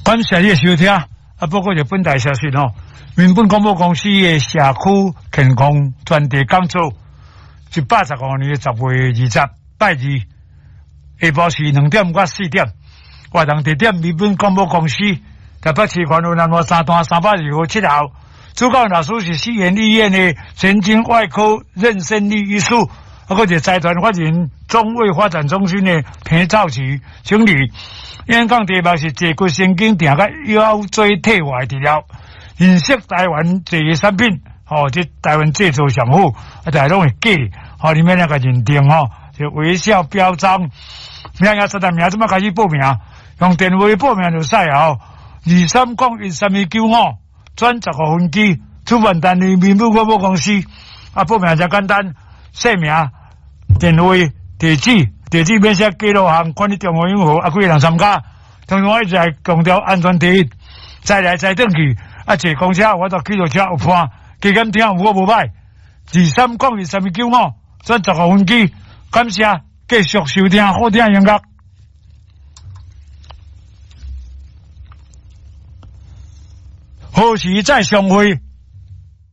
感謝你的收聽，啊，報告一本台消息吼，民本廣播公司的社區健康專題講座，115年10月20拜二，下晡是2點到4點，活動地點民本廣播公司，台北市環路南路三段302號7號。主講老師是西園醫院的神經外科任勝利醫師，啊，閣一個財團法人中衛發展中心的彭兆奇經理。演講題目是坐骨神經痛佮腰椎退化治療，認識台灣這個產品，吼，這台灣製造上好，啊，大家攏會記，吼，你免那個認定吼，就微笑標章，名也實在名，這擺開始報名，用電話報名就使哦，23013295，轉15分機，主辦單位民本廣播公司，啊，報名誠簡單，姓名、電話、地址。地址免寫記錄項，看你中央銀行啊，幾個人參加。通常我一直來強調安全第一，再來再轉去。啊，坐公車我都去到車有伴，加減聽有我無歹。23013295，轉15分機，感謝繼續收聽好聽音樂。何時再相會？